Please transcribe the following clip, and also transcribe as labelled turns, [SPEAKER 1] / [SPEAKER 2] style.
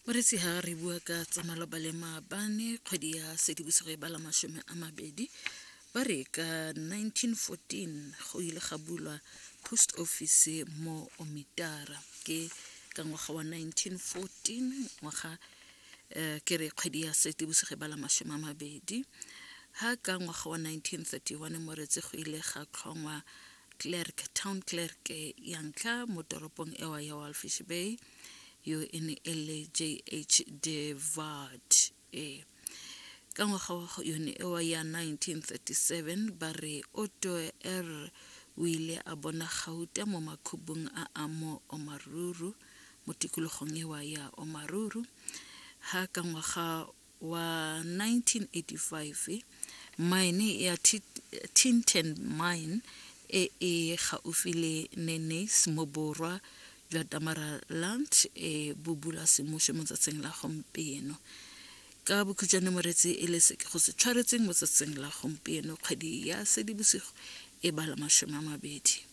[SPEAKER 1] Moretsi ha re bua ka tsa maloba le maabane kgwedi ya Seetebosigo e bala 20, ba re ka 1914 go ile ga bulwa post office mo Omitara. Ke ka ngwaga wa 1914 ngwaga eh, ke re kgwedi ya Seetebosigo e bala 20. Ha ka ngwaga wa 1931 moretsi go ile ga tlhongwa clerk town clerk ya ntlha mo toropong ewa ya Walvis Bay. Yo e ne e le JH de Waard. Ee. Ka ngwaga wa yone ewa ya 1937 ba re Otto R o ile a bona gauta mo makhubung a a mo Omaruru mo tikologong ewa ya Omaruru. Ha ka ngwaga wa 1985 mine ya Tinten Mine e e gaufi le Neneis mo borwa jwa Damaraland e bo bula semmušo mo tsatsing la gompieno. Ka bokhutšwane moretsi e le se ke go se tshwaretseng mo tsatsing la gompieno kgwedi ya Sedibosigo e bala 20.